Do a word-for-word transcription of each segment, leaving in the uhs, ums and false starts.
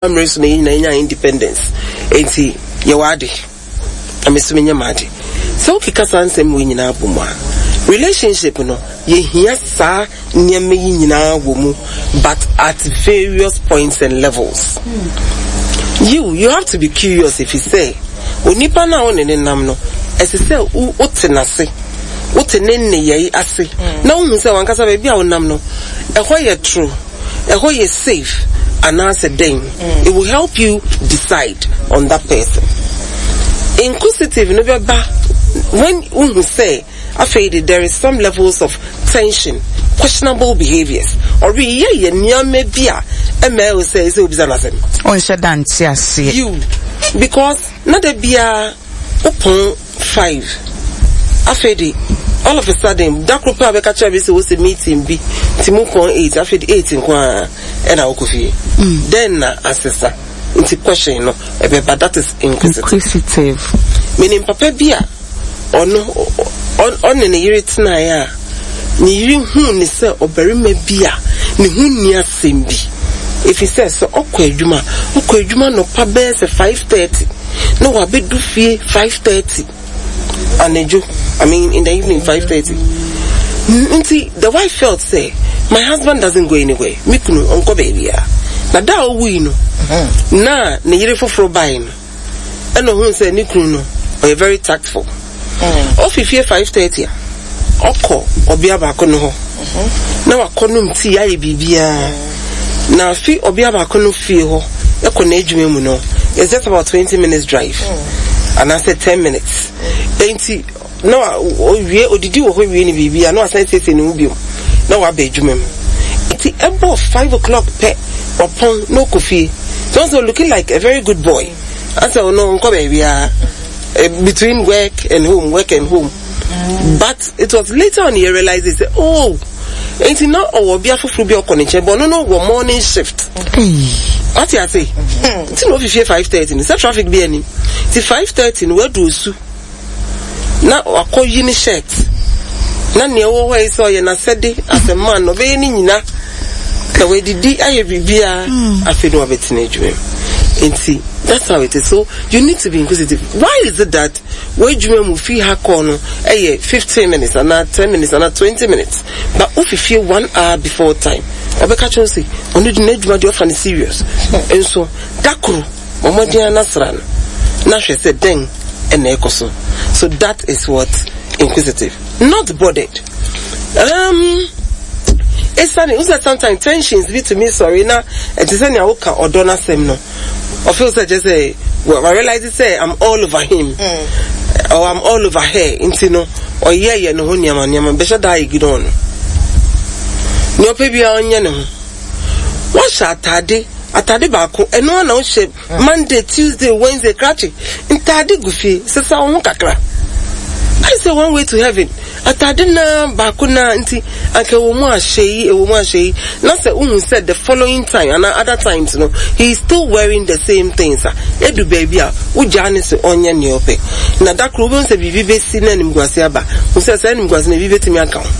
Mmerɛ so na yɛn nyinaa yɛnya independence, enti yɛwɔ ade na me so menyɛ m'ade. Sɛ wokeka saa nsɛm wei nyinaa bɔ mu a, relationship no, yɛhia saa nneɛma yi nyinaa wɔ mu, but at various points and levels. You you have to be curious, ɛfiri sɛ onipa no a wo ne ne nam no, ɛsɛ sɛ wote n'ase, wote ne nneyɛe ase, na wohu sɛ wankasa baabi a wonam no, ɛhɔ yɛ true, ɛhɔ yɛ safe anaasɛ dɛn. It will help you decide on that person. Inquisitive no bɛba when wohu sɛ afei de there is some levels of tension, questionable behaviours, ɔreyɛ yɛ nneɛma bi a ɛmɛ ɛwɔ sɛ ɛsɛ obisa n'asɛm. Ɔnhyɛ da nte aseɛ. You because na da biara wopɔn five, afei de all of a sudden da koro pɛ a bɛka kyerɛ bi sɛ wosɛ meeting bi nti mu pɔn eight, afei de eight nko a ɛna wokɔ fie. Then na asesa, nti question no ɛbɛba. That is inquisitive. Inquisitive. Menim papa bi a ɔno ɔne ne yere tenaeɛ a, ne yere huu ne sɛ ɔbarima bi a ne ho nni asɛm bi, ɛfiri sɛ sɛ ɔkɔ adwuma, ɔkɔ adwuma nɔpa bɛyɛ sɛ five thirty na wabɛdu fie five thirty anadwo, I mean, in the evening five thirty. Nti the wife felt say, "My husband doesn't go anywhere, me kunu ɔnkɔ baabiara." Na da a ɔwui no na ne yere foforɔ bae no, ɛna ohun sɛ ne kunu no ɔyɛ very tactful. Ɔfi fie five thirty a, ɔkɔ ɔbea baako no hɔ na wakɔ nom tea, ayɛ biribiara, na afi ɔbea baako no fie hɔ ɛkɔ n'adwuma mu no, it's just about twenty minutes drive anaasɛ ten minutes. Enti na owie, odidi wɔ hɔ wie ne biribiara, na wasan siesie ne ho biom na waba adwuma mu. Nti ɛbɔ five o'clock pɛ, ɔpɔn na ɔkɔ fie. So ɔsɛ looking like a very good boy, asɛ ɔno nkɔ baabiara, between work and home, work and home. But it was later on he realized sɛ, oh, nti na ɔwɔ ɔbea foforɔ bi ɔkɔ ne nkyɛn, but ɔno no wɔ morning shift. Wate ase? Nti na ofifie five thirty no sɛ traffic bi anim, nti five thirty no wadu Osu na wakɔ yi ne shirt na nea ɛwɔ hɔ yi sɛ ɔyɛ n'asɛde as a man na ɔbɛyɛ ne nyina na wadidi ayɛ biribiara, afei na wabɛtena adwuma mu. Nti that's how it is. So you need to be inquisitive. Why is it that w'adwuma mu fi ha kɔ no ɛyɛ fifteen minutes anaa ten minutes anaa twenty minutes, but wofifie one hour before time? Ɔbɛka kyerɛ sɛ ɔno de n'adwuma deɛ, ɔfa no serious, nso da koro ɔmmɔden anasra no na hwɛ sɛ dɛn ɛna ɛkɔ so. So that is what inquisitive. Not bothered, um esane wosɛ sometimes tensions bi tumi sɔre na ɛte sɛ nea woka ɔdɔ n'asɛm no, ɔfeel sɛ kyerɛ sɛ well, I realize sɛ I'm all over him mm. or I'm all over her, nti no ɔyɛ yɛ ne ho nneɛma nneɛma bɛhyɛ da ignore no. Nea ɔpɛ biara ɔnyɛ ne ho. Wɔhyɛ atade atade baako, ɛno na wohyɛ Monday, Tuesday, Wednesday. Krakye, ntaade gu fie, sesa wo ho kakra. I say one way to heaven, atade na baako na nti anka ɛwɔ mu ahyɛ yi, ɛwɔ mu ahyɛ yi, na sɛ wohu sɛ the following time ana other times no, he is still wearing the same things a, edu baabi a wogyaa ne sɛ ɔnyɛ nea ɔpɛ, na da koro wobɛhu sɛ biribi bɛsi na animguase aba hu sɛ saa animguase no ebi bɛtumi aka ho.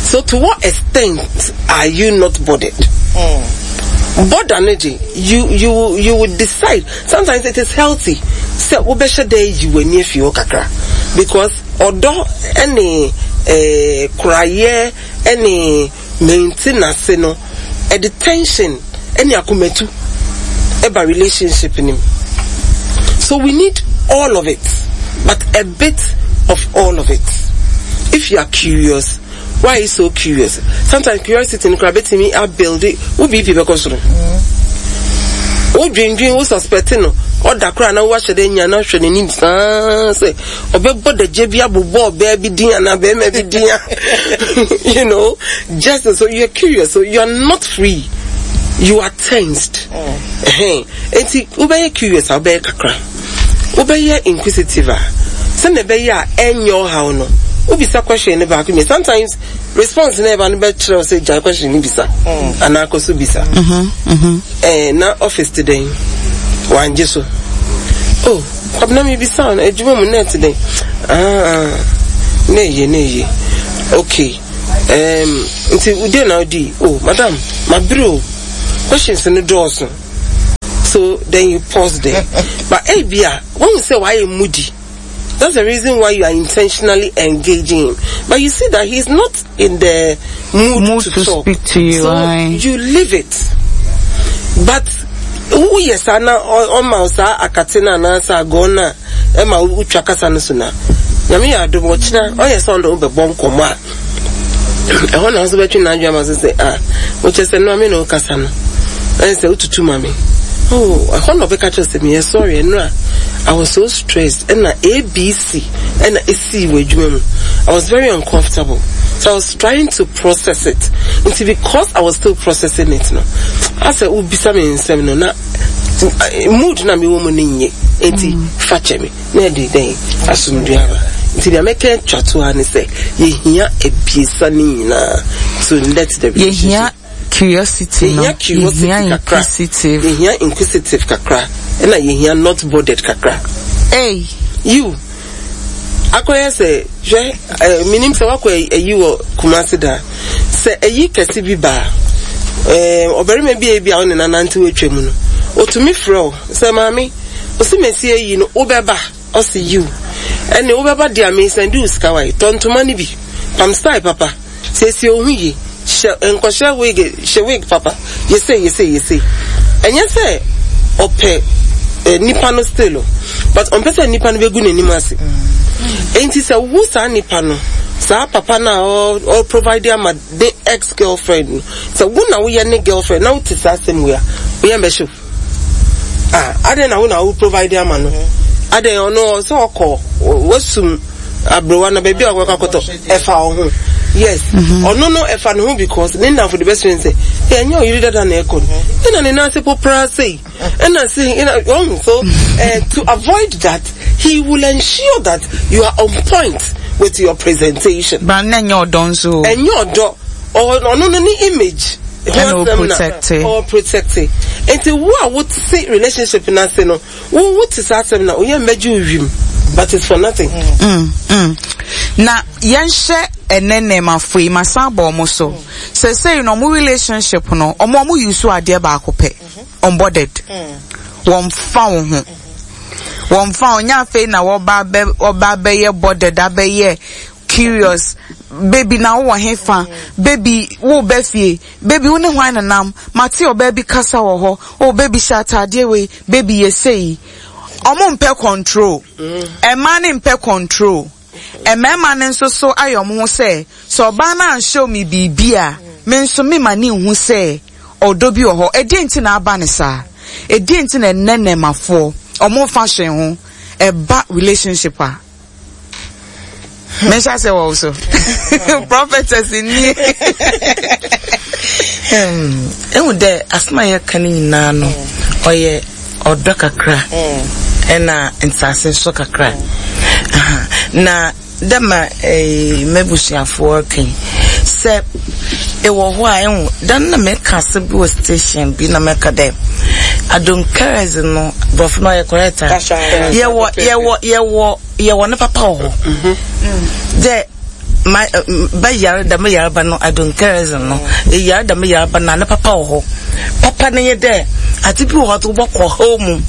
So to what extent are you not bothered? Mm. Bother no gye, you you you would decide. Sometimes it is healthy sɛ wobɛhyɛ dɛ yi w'ani afi hɔ kakra, because ɔdɔ ɛne ɛɛ korayɛ ɛne maintenance no, ɛde tension ɛne akomatu ɛba relationship nim. So we need all of it, but a bit of all of it. If you are curious, why are you so curious? Sometimes curiosity no kora betumi abuild wo B P bɛkɔ soro. Wodwendwen, wo suspect no, ɔda koraa na woahyɛ dɛ nya na hwɛ n'anim saa sɛ ɔbɛbɔ dagya bi abobɔ ɔbaa bi din anaa bɛrima bi din a, you know just so you're curious, so you are not free, you are tensed. Nti wobɛyɛ curious a, wobɛyɛ kakra, wobɛyɛ inquisitive a, sɛnea ɛbɛyɛ a ɛnyɛ ɔhaw no, wobisa question no baako mi, sometimes response na ɛba no bɛkyerɛ wo sɛ gyae question no bisa anaa kɔ so bisa. Ɛɛ na office te dɛn? Wangye so. Oh, Kwabena, mi bisa no, adwuma mu na ɛte dɛn? Ah, na eye, na eye, okay. um, nti wode na wodi? Oh madam, mabere o, questions no dɔɔso. So then you pause there. But ebia, when you say why moody, that's the reason why you are intentionally engaging him. But you see that he's not in the mood, mood to, to talk. Speak to you. So aye. you leave it. But woyɛ saa na ɔma wo saa akate no anaasɛ agɔɔ no a ɛma wotwa kasa no so na Nyame yɛ adom, ɔkyena ɔyɛ sɛ ɔne wobɛbɔ nkɔmmɔ a, ɛhɔ na nso bɛtwe n'adwene ama so sɛ, ah, wokyɛ sɛ no ame na wokasa no ɛne sɛ wotutu ma me. Oh, ɛhɔ na ɔbɛka kyerɛ sɛ meyɛ sorry, ɛno a I was so stressed, ɛna A B C ɛna ɛsii wɔ adwuma mu, I was very uncomfortable, so I was trying to process it. Nti because I was still processing it no, asɛ wobisa me nsɛm no na mood na mewɔ mu no nye, nti fa kyɛ me na ɛde dɛn asomdwe aba. Nti deɛ mɛka atwa to ha ne sɛ yɛhia abiesa no nyinaa to let the relationship. Yɛhia curiosity no. Yɛhia curiosity yɛhia kakra. Inquisitive. Yɛhia inquisitive kakra, ɛna yɛhia not bothered kakra. Hey. You akɔyɛ sɛ hwɛ ɛɛ minim sɛ wakɔ ayi wɔ Kumasi da sɛ ayi kɛse bi baa, ɛɛ ɔbarima bi a ebi a ɔne nanante wɔ atwa mu no, otumi frɛ wo sɛ, "Maame osi mesi ayi no, wobɛba?" Ɔsi yiw, ɛne wobɛba deɛ a, mesan di wo sika wa yi, tɔ ntoma no bi, pam style papa, siesie wo ho yie, hyɛ nkɔhyɛ wig, hyɛ wig papa, yɛsɛ yɛsɛ yɛsɛ. Ɛnyɛ sɛ ɔpɛ eh, nipa no still o, but ɔmpɛ sɛ nipa no bɛgu n'anim ase. Enti sɛ wo saa nipa no, saa papa no a ɔ ɔ provide ama ne ex girlfriend no, sɛ wo na woyɛ ne girlfriend na wote saa asɛm wei a, woyɛ mbɛhyew. Ah, adɛn na wo na wo provide ama no? Adɛn, ɔno sɛ ɔkɔ wasum aberewa na baabi a ɔkɔkɔ akɔtɔ ɛfa wo ho? Yes, ɔno no ɛfa ne ho because ne nnamfo de bɛsrɛ sɛ ɛnyɛ ɔyere dada na ɛkɔ no, ɛna ne nan ase popraa sei, ɛna sei, ɛna ɔhu. So uh, to avoid that, he will ensure that you are on point with your presentation. Ba na ɛnyɛ ɔdɔ nso. Ɛnyɛ ɔdɔ, ɔno no ne image ɛna o protect. Ɔ protect. Nti wo a wote relationship n'ase no, wo wote saa asɛm na oyɛ mbɛgye wo wiem, but it's for nothing. Mm, mm. Na yɛnhyɛ ɛnɛ nnɛɛmafo yi masan bɔ ɔmo so sɛsɛyi no, ɔmo relationship no, ɔmo ɔmo use adeɛ baako pɛ, unbothered. Wɔn fa wo ho, wɔn fa wo nyɛ. Afei na wɔba abɛ wɔba abɛyɛ bothered, abɛyɛ curious. "Baby, na wowɔ he fa? Baby, wo bɛ fie? Baby, wo ne hwan nenam? Mate ɔbaa bi kasa wɔ hɔ. Oh baby, hyɛ ataadeɛ wei. Baby, yɛ sei." Ɔmo mpɛ control. Ɛmaa ne mpɛ control, mmarima no nso so ayɛ ɔmo ho sɛ sɛ ɔbaa no anhyɛ mi biribi a, me nso me ma ne nhu sɛ ɔdɔ bi wɔ hɔ. Ɛdeɛ nti na aba ne saa? Ɛdeɛ nti na ɛnɛ nnɛmafoɔ ɔmo nfa hwee ho ɛba relationship a? Menhyɛ sɛ wɔ so, prophetess ni. Ehu dɛ asɛm a yɛka no nyinaa no, ɔyɛ ɔdɔ kakra ɛna nsaase nso kakra. Aha. Na dɛ ma eh, m'abusuafoɔ ka yi sɛ ɛwɔ hɔ a, ɛhu dan na meka asɛm bi wɔ station bi na mɛka dɛ adonkeres no, borɔfo no ɔyɛ correct a, yɛwɔ yɛwɔ yɛwɔ yɛwɔ ne papa wɔ hɔ dɛ ma bɛyare dɛm yareba no, adonkeres no, yare dɛm yareba no, na ne papa wɔ hɔ. Papa no yɛ dɛ ade bi wɔ hɔ a wobɔkɔ haw mu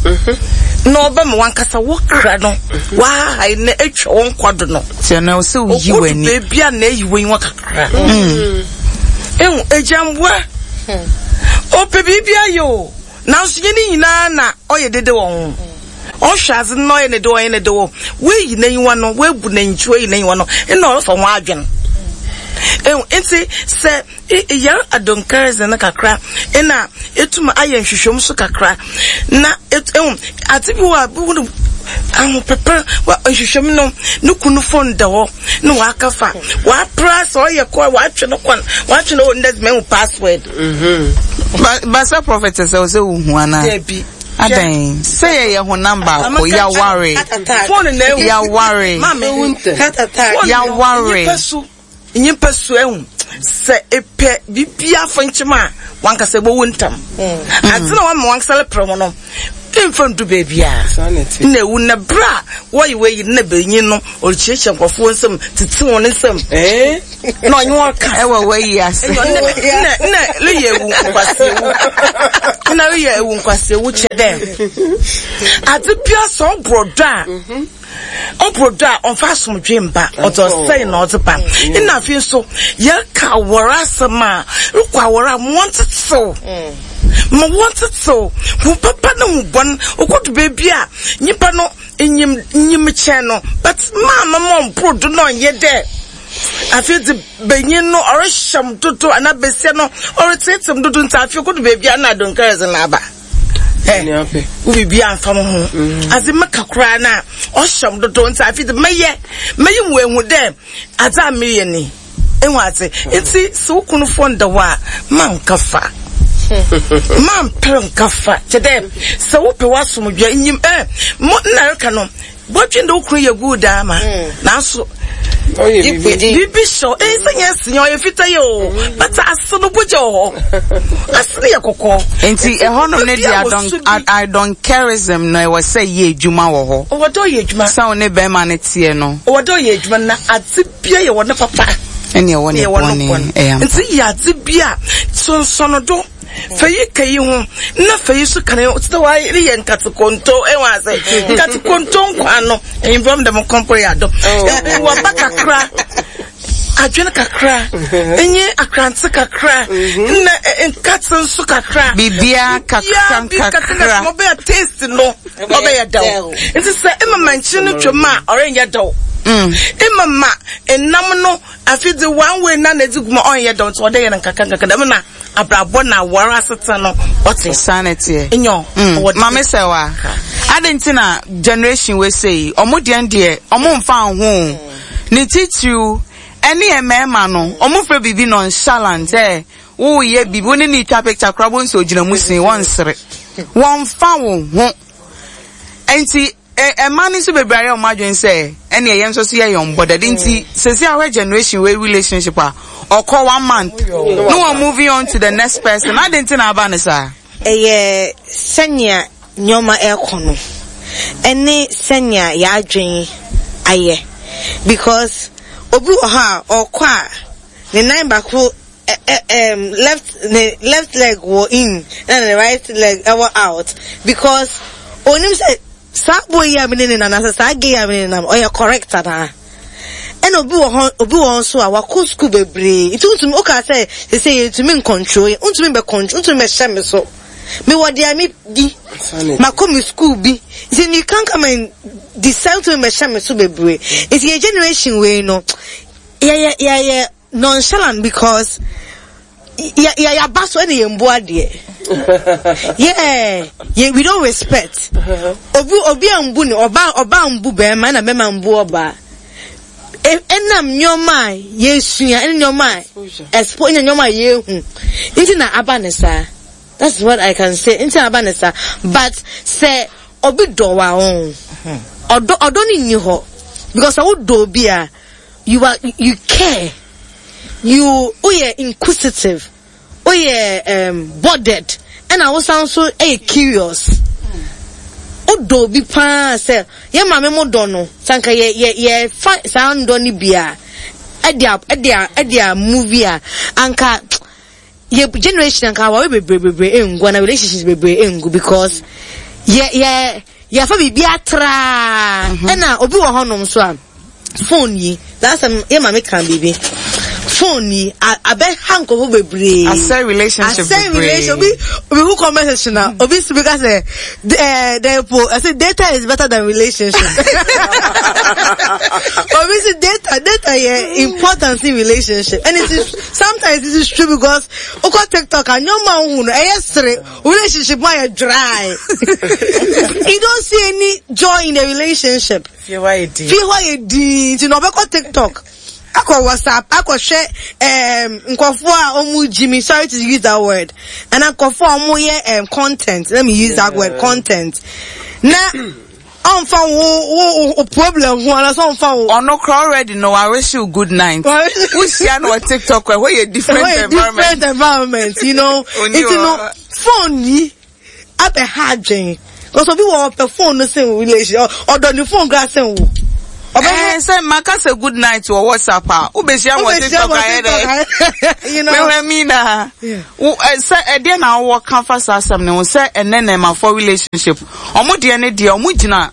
na ɔbɛma wankasa wo kra no wahahae na atwa wo nkwa do no. Tiɛ na ɔsɛ oyi okodu w'ani. Beebi a na eyi w'enyiwa kakra. Ehu agyamboa ɔpɛ biribi ayɛ o, nanso yɛn ne nyinaa na ɔyɛ dede wɔ ho. Ɔhwɛ ase na ɔyɛ ne de, ɔyɛ ne de wɔ woeyi n'enyiwa no, woebu n'enyikyi, woeyi n'enyiwa no, ɛna ɔrefa ho adwen. Ehu nti sɛ yɛn adonkarism no kakra, ɛna etum ayɛ nhwehwɛmu so kakra na ehu ade bi wɔ a bi wɔ ahopepe wa nhwehwɛmu no, ne kunu phone da hɔ na waka fa wapra sɛ ɔyɛ kɔ watwe no kwan, watwe no ndɛ mɛhu password. Ba basa prophetess, ɔsɛ ohu ana? Dabi. Adan sɛ yɛyɛ honam baako, yaware. Phone na ehu. Yaware. Maame. Heart attack. Yaware. Nyimpa su, nyimpa su, ehu sɛ epɛ biribi afa nkyɛn a wankasa ebowu ntam ade na wama wankasa lepere ho no. Mfa ndu baabi a na ewu na bere a wɔyɛ wɔyi na benyin no ɔrekyerɛkyerɛ nkurɔfoɔ nsam tete wɔn nsam na ɔnye wɔn ka ɛwɔ wɔyi ase na na reyɛ ewu nkwasi ewu na reyɛ ewu nkwasi ewu kyɛ dɛ ade bia sɛ ɔborɔ do a ɔborɔ do a ɔmfa asomdwe mba ɔdze ɔsɛe na ɔdze ba. Ɛna afei nso yɛka awɔre asɛm a rekɔ awɔre a ma wɔntetew ma wɔntetew hu papa ne hu bɔn okodu baabi a nyimpa no nyim nyim kyɛn no but maama ma ɔmboro do na ɔnyɛ dɛ afei dze benyin no ɔrehyɛm dodo anaa besia no ɔreteetem dodo nti afei okodu baabi a na adonkɛrɛdze na aba ɛ wo biribi amfa mo ho adze meka koraa na ɔhyɛm dodo nti afei dze mɛyɛ mɛyi wo ehu dɛ adze a meyɛ ni ehu adze nti sɛ wo kunu fo nda hɔ a manka fa mampere nka fa kyɛ dɛ sɛ wopɛ w'asomdwe nyim ɛ mo nna reka no bɔdwen de wo kunu yɛ good ama nanso biribi hyɛ ɛyɛ sɛ nyɛ sinya ɔyɛ fita yɛ o but ase no bogya wɔ hɔ ase no yɛ kɔkɔɔ. Nti ɛhɔnom ne deɛ I don't careism no ɛwɔ sɛ yɛ adwuma wɔ hɔ. Ɔwɔ dɛ ɔyɛ adwuma. Sɛ wo ne bɛrima no teɛ no. Ɔwɔ dɛ ɔyɛ adwuma na adze bia yɛ wɔ ne papa. Ɛne ɛwɔ ne bɔne ɛyɛ ampa. Nti yɛ adze bia sonsɔno do. Fɛyi ka yi ho na fɛyi so kan yi sɛ wa yɛ nkate konto ɛwɔ ase nkate konto nkwa no ɛyìnbọn dɛm kɔnkɔn yɛ adɔ wɔ ba kakra adwene kakra enye akrante kakra na nkate nso kakra bibia kakra kakra ɔbɛyɛ taste no ɔbɛyɛ dɛw nti sɛ emama nkyin no twam a ɔrenyɛ dɛw emama enam no afi de one way na na edi gu ma ɔnyɛ dɛw nti ɔde yɛ no nkakra nkakra dɛm na abrabɔ na awara aseta no ɔte sanity enyo mm. Mame sɛ wa ade nti na generation we sei ɔmo deɛ deɛ ɔmo mfa ho ne titiriw ɛne mmarima no ɔmo fɛ biribi nonchalant ɛ woyɛ biribi wo ne ne twa picture koraa bo nso ogyina mu sin wɔnsere wɔmfa wo ho nti ɛma ne nso bebree ayɛ ɔmo adwene sɛ ɛne ɛyɛ nso so yɛ yɔn bɔ dade nti sɛsi ahwɛ generation wei relationship a ɔkɔ one month no one moving on to the next person ade nti na aba ne saa. Ɛyɛ sɛnea nneɛma ɛkɔ no ɛne sɛnea yɛadwen ayɛ because obi wɔ hɔ a ɔkɔ a ne nan baako ɛ left ne left leg wɔ in ɛna ne right leg ɛwɔ out because onim sɛ saa boy yi a mi ne ne nam na saa gay a mi ne ne nam ɔyɛ correct anaa. Ɛna obi wɔ hɔ obi wɔ nso a wakɔ school bebree nti ntumi oka sɛ sese yɛ ntumi ncontrol yɛ ntumi bɛ control ntumi bɛ hyɛ mi so mi wɔ deɛ mi di makɔ mi school bi nti you can come and decide ntumi bɛ hyɛ mi so bebree nti yɛ generation wei no yɛ yɛ yɛ yɛ nonchalant because yɛ yɛ yaba so ɛna yɛn bu adeɛ yeah yeah we don't respect obi obi a mbu ne ɔba ɔba mbu bɛrima ɛna bɛrima mbu ɔbaa. Ɛnam nneɛma a yɛsua ɛne nneɛma a expo ɛne nneɛma a yɛhu nti na aba ne saa. That's what I can say. Nti na aba ne saa. But sɛ obi dɔ wa ɔn ɔdɔ ɔdɔ ne nni hɔ because sɛ wodɔ obi a you are you care you woyɛ inquisitive woyɛ um, bothered ɛna wosan so ɛyɛ curious. Wodɔ obi paa sɛ yɛ maame mo dɔ no sanka yɛ yɛ yɛ fa saa ndɔ no bi a ɛde a ɛde a ɛde a movie a anka yɛ generation anka aware bebree bebree engu ana relationships bebree engu because yɛ yɛ yɛfa biribi atraa ɛna obi wɔ hɔnom so a phone yi last time yɛ maame kan biribi phone yi abɛ ha nkɔfo bebree asɛ relationship asɛ relationship obi obi who comment section na obi si bi ka sɛ ɛɛ dɛpo ɛsɛ data is better than relationship obi si data data yɛ important in relationship and it is sometimes it is true because okɔ TikTok a nneɛma ohun no ɛyɛ sere relationship ma yɛ dry you don't see any joy in a relationship. Fie hɔ ayɛ din. Fie hɔ ayɛ din nti na ɔbɛkɔ TikTok akɔ WhatsApp akɔhwɛ um, nkɔfoɔ a ɔmo gyi mi sorry to use that word ɛna nkɔfoɔ a ɔmo yɛ um, content let me use that word content na ɔnfa wo wo wo problem ho anaasɛ ɔnfa wo. Ɔno kora already no I wish you good night. Wohyia no wɔ TikTok ɛhɔ yɛ different Ɛhɔ yɛ environment. different environment you know Oni nti no wɔ- phone yi abɛha adwen. Because obi wɔ ɔpɛ phone no sen relation, ɔdɔ ne phone kora sen wo. Eh, sɛ maka sɛ good night wɔ WhatsApp a, wobɛhyia wɔ TikTok ayɛ dɛ. You know. Mehwɛ mi na. Wo eh, sɛ ɛdeɛ na wowɔ ka fa saa asɛm ne ho sɛ ɛnɛ na ɛmafo relationship. Ɔmo deɛ ne deɛ ɔmo gyina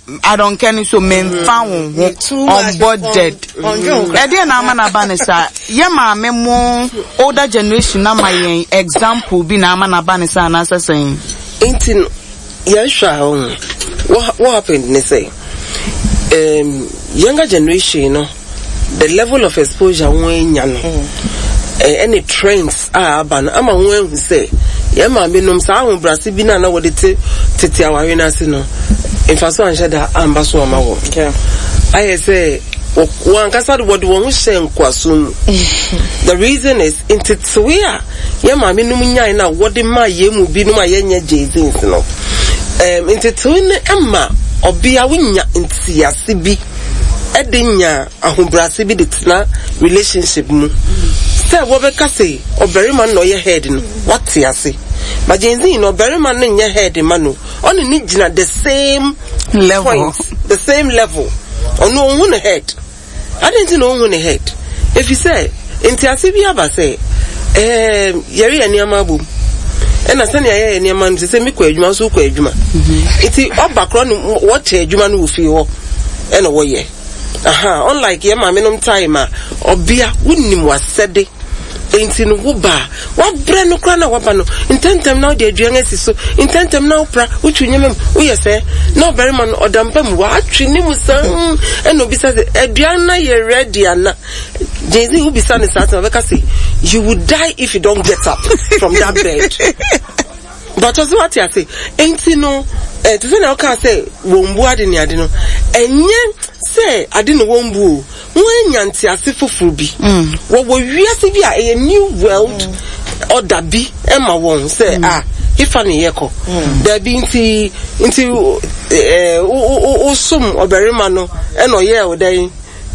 adɔnkɛ no so memfa wo ho Too much unbothered. Ɔndwen wo koraa. Ɛdeɛ na ama n'aba ne saa. Yɛ maame mo older generation na ma yɛn example bi na ama n'aba ne saa anaasɛ sɛn. Nti no, yɛhwɛ a ɔho, what, what happened ne sɛ, um, younger generation no, the level of exposure wɔn anya no, eh, ɛne trends a aba no, ama wɔn ahu sɛ, yɛn maame nom saa ahobrɛase bi na na wɔde te tete aware no ase no, mfaso anhyɛ da amba so ama wɔn. Ayɛ sɛ, wɔ- wɔn ankasa de wɔde wɔn ho hyɛ nkoaso mu. The reason is, ntetewe a yɛn maame nom nyae na wɔde maa yɛn mu binom a yɛnyɛ Gen Zs no, um, ntetewe no ma ɔbea wonya ntease bi ɛde nya ahobrɛase bi de tena relationship mu sɛ wɔbɛka sɛ ɔbarima no na ɔyɛ head no, wate ase. But Gen Z no, ɔbarima no nyɛ head ma no, ɔne ne gyina the same Level. point, the same level. Ɔno ɔnhu ne head. Adi nti na ɔnhu ne head, efi sɛ ntease bi aba sɛ ɛɛm yɛreyɛ nneɛma abom, ɛna sɛnea yɛyɛ nneɛma no sɛ sɛ mekɔ adwuma nso wokɔ adwuma, nti ɔba korɔ no, wɔkyɛ adwuma no wɔ fie hɔ ɛna wɔyɛ aha. Unlike yɛ maame nom time a ɔbea wonim wasɛde, nti no wo ba a wabrɛ no koraa na waba no ntɛntɛm na wode aduan asi so ntɛntɛm na wopra wotwi nneɛma mu, woyɛ sɛ na ɔbarima no ɔda mpa mu waatwe ne mu saa, ɛna obisa sɛ aduan na yɛ ready ana. Gen Z wobisa ne saa asɛm, ɔbɛka sɛ you will die if you don't get up from that bed. But ɔsɛ wate ase, nti no eh, te sɛ na ɔka sɛ wɔn bu ade ne ade no, ɛnyɛ sɛ ade na wɔn bu o, wɔn anya ntease foforɔ bi, wɔwɔ wiase bi a ɛyɛ new world order bi ɛma wɔn sɛ a ifa ne yɛ kɔ dabi. Nti nti ɛɛ wo wo wosom ɔbarima no ɛna ɔyɛ ɔdan.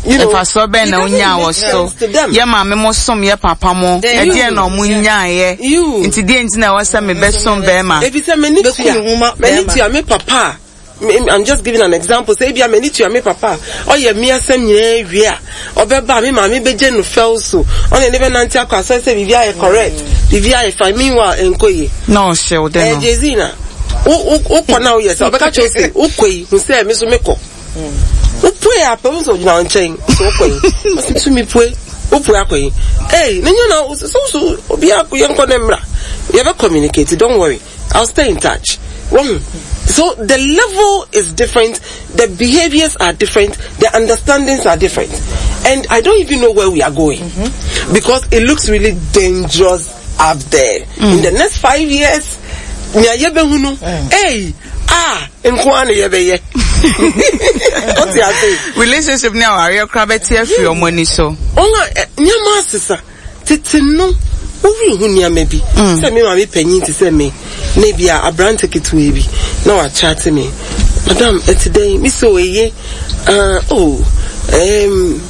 You know, mfasoɔ bɛn na wonya wɔ so? Yɛ maame mo som yɛ papa mo, ɛdeɛ na ɔmo nyaayɛ? Nti deɛ nti na ɛwɔ sɛ mebɛsom bɛrima? Ebi sɛ m'ani Bɛku tua ne ho ma m'ani bɛrima. tua me papa a, me- I'm just giving an example sɛ ebi a m'ani tua me papa a ɔyɛ mi asɛm nyinaa wie a, ɔbɛba a me maame bɛgye no fɛw so, ɔne ne bɛnante akɔ asɔre sɛ biribi ayɛ correct, biribi ayɛ fine. Meanwhile ɛnkɔ yie. Na ɔhyɛ wo dɛ ɛɛ no. Jay-Z na wo wo wokɔ na woyɛ sɛ ɔbɛka kyerɛ wo sɛ wokɔ yi hu sɛ me so mekɔ, wopue a pɛ wo sɛ ogyina wo nkyɛn sɛ wokɔ yi, ɔsɛ tumi pue, wopue akɔ yi ee ne nyɛ na so so obi akɔ yɛnkɔ ne mmra, yɛbɛ communicate, don't worry, I'll stay in touch. Wɔn so the level is different, the behaviours are different, the understandings are different, and I don't even know where we are going because it looks really dangerous up there. In the next five years, nea yɛbɛhu no, hey, ah, nko ara na yɛbɛyɛ ɔte ase. Relationship ne awareɛ koraa bɛte afiri ɔmo ani so. Ɔn a ɛ, nneɛma asesa. Tete no wowiri ho nneɛma bi sɛ me maame panyin te sɛ me na ebi a aberante ketewa bi na wakyate me, "Madam, ɛte dɛn?" Me sɛ eye, ah, oh, um,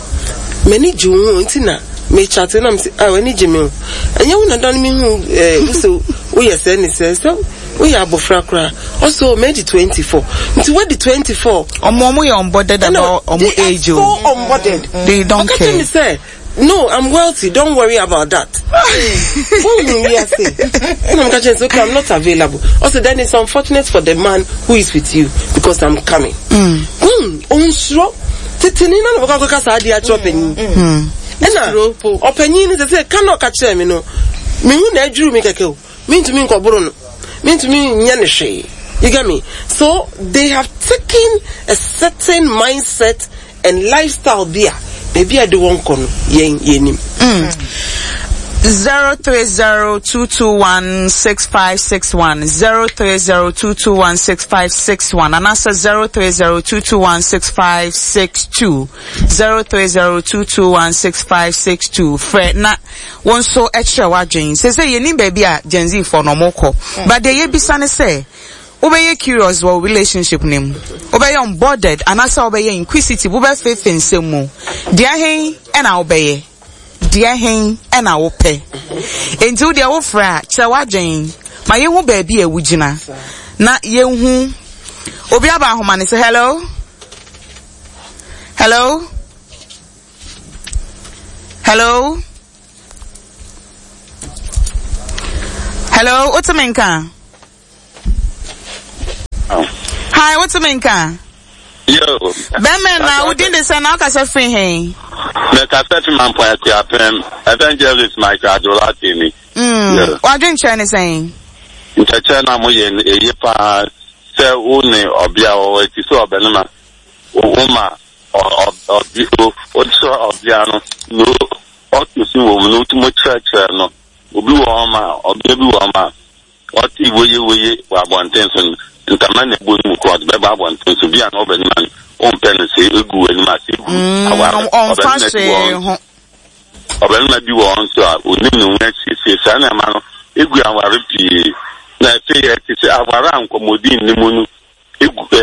m'ani gye wo ho nti na mekyate na mese ah, w'ani gye me ho, ɛnyɛ wo na da no mehu eh, wo sɛ woyɛ sɛ ne sɛ sɛ woyɛ abɔfra koraa. Ɔsɛ o madi twenty-four, nti wadi twenty-four. Ɔmo ɔmo yɛ unbothered about ɔmo They are age o. so unbothered. They don't Ɔka care. kyerɛ me sɛ no, I'm wealthy, don't worry about that. Wohu wiase ɛna meka kyerɛ sɛ okay, I'm not available. Ɔsɛ then it's unfortunate for the man who is with you because I'm coming. mm. Ɔnsuro teteni na na bɛkɔ akɔka saa adeɛ akyerɛ ɔpanyin, ɛna ɔpanyin no sɛ sɛ ka na ɔka kyerɛ me no, mehu na adwuru me kɛkɛ o, mentumi nkɔboro no, mentumi nyɛ ne hwee. You get me? So they have taken a certain mindset and lifestyle bi a baabi a de wɔn kɔ no, yɛn yɛnim. Zero three zero two two one six five six one, zero three zero two two one six five six one, and answer zero three zero two two one six five six two, zero three zero two two one six five six two. Frɛ na wɔn nso ɛkyerɛ w'adwene sɛ sɛ yɛnim baabi a Gen Z fo no ɔmo kɔ, but deɛ yɛbisa ne sɛ, wobɛyɛ curious wɔ relationship ne mu, wobɛyɛ unbothered anaasɛ wobɛyɛ inquisitive, wobɛfefe nsɛm mu, deɛ hen ɛna wobɛyɛ, deɛ hen ɛna wopɛ? Nti wo deɛ wofrɛ a, kyerɛ w'adwene ma yɛhu baabi a wogyina Na yɛnhu obi aba ahoma ne sɛ hello? Hello? Hello? Hello, what's me nka? Oh. Hi, what's me nka? Yo. Bɛmɛ na wodin de sɛ na wokasa firi he? Mekasa fi Mampɔn Akuapem, Evangelist Michael Adolati ni. Mm. Wadwenkyerɛ ne sɛn? Nkyɛkyerɛ na moyɛ no ɛye paa sɛ wo ne ɔbea wɔ hɔ ɛti sɛ ɔbɛnema wo ma ɔkyerɛ ɔbea no na ɔto si wɔ mu no wotumi kyerɛkyerɛ no. Obi wɔ hɔ ma ɔbea bi wɔ hɔ ma ɔte woye woye wɔ abɔnten so no ntama na ebu no mu kɔ ɔde bɛba abɔnten so bi a na ɔbɛnema no ɔmpɛ no sɛ egu anim ase egu aware ɔmfa hwee ho. Ɔbɛnema bi wɔ hɔ nso a onim ne ho asiesie saa nneɛma no egu aware pii na afei ɛte sɛ aware a nkɔmmɔdi nni mu no egu ɛ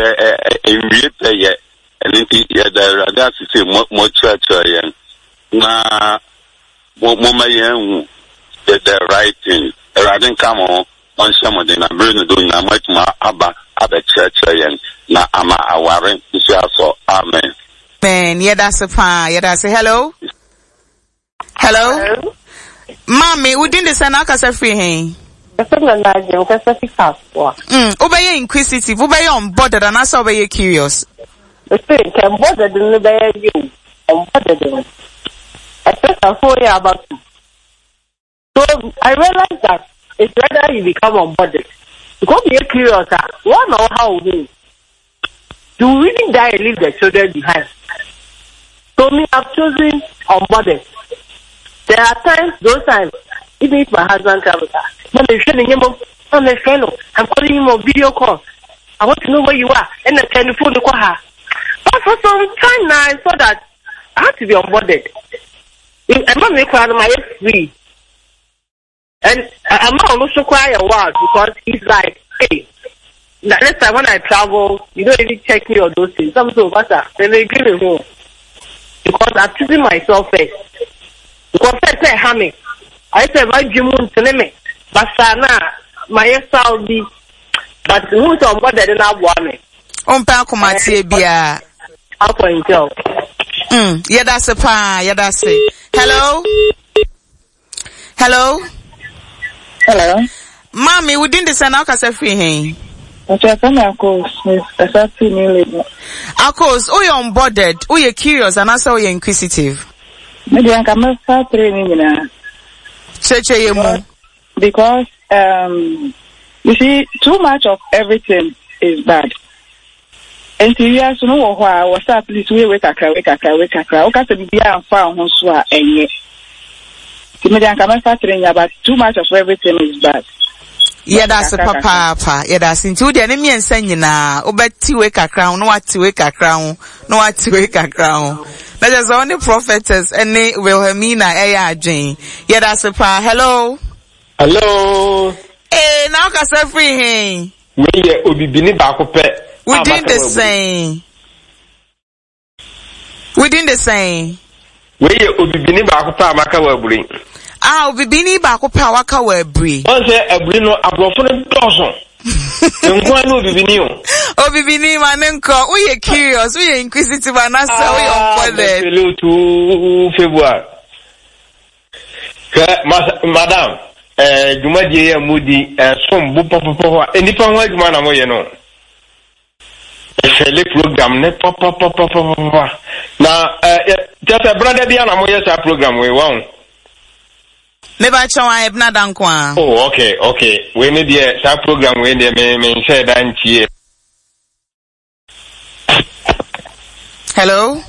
ɛ nwie pɛ yɛ. Ɛno nti yɛda Awurade ase sɛ mo mo kyerɛkyerɛ yɛn na mo mo ma yɛn hu the the right thing. Awurade nka mo ho, ɔnhyɛ mo den na bere no do nyinaa mo atumi aba abɛkyerɛkyerɛ yɛn na ama aware nso asɔ. Amen. Amen. Yɛda ase paa, yɛda ase. Hello? Hello? Hello? Maame, wodin de sɛ na akasa firi he? Ɛsɛ na na agye nkasa fi kasoa. Mm, wobɛyɛ inquisitive, wobɛyɛ unbothered anaasɛ wobɛyɛ curious? Ɛsɛ nka unbothered no bɛyɛ yie o, unbothered no. Ɛsɛ sɛ phone yɛ abatu. So I realize that it's rather you become unbothered. Because you're curious, ah, one know how you you really die and leave the children behind. So me, I've chosen unbothered. There are times, those times, even if my husband travels, I'm a fellow. I'm calling him on video call. I want to know where you are. And the telephone call her. But for some time now, I saw that I had to be unbothered. I'm not free. And I'm not also quite a while because he's like, hey, next time when I travel, you don't even check me or those things. I'm so better. Then they give me home. Because I'm choosing myself first. Because first I have me. I said, my dream won't tell me. But my Saudi, but who's on board that didn't want me? Umpa kumatie bia. Mm, yeah, that's a pa. Yeah, that's it. Hello? Hello? Hello? Mommy, we didn't send out a free hey. Akos, oh, you're unbothered, oh, you're curious, and also you're inquisitive. Maybe I can start training now. Because, um, you see, too much of everything is bad. And you have to know why I was at least we wake up, wake up, wake up. Okay, so be a far home so and yet. But too much of everything is bad. Yeah, that's a papa, papa. Yeah, that's into the enemy and sending na. Obeti wake a crown, no what to wake a crown, no what to wake a crown. That is only prophetess and Wilhelmina A. Jane. Yeah, that's a pa. Hello. Hello. Hey, now can say free hey. We ye obibini baako pe. We did the same. We did the same. We ye obibini baako pe amaka wa aburi. Ah, obibini baako pe awaka wa aburi. Won say aburi no abrofo no doso. Nko no obibini o. Obibini manenko, we ye curious, we ye inquisitive and answer we unbothered. Hello to February. Madam, eh dwumadie ye mudi eh som bo popopo enipa ho adwuma na mo ye no. Efele program ne popopopopopo. Na eh just a brother bia na mo ye sa program we won. Me ba chon ebna dankwa. Oh, okay, okay. We need the sa program we dey me me share dan tie. Hello?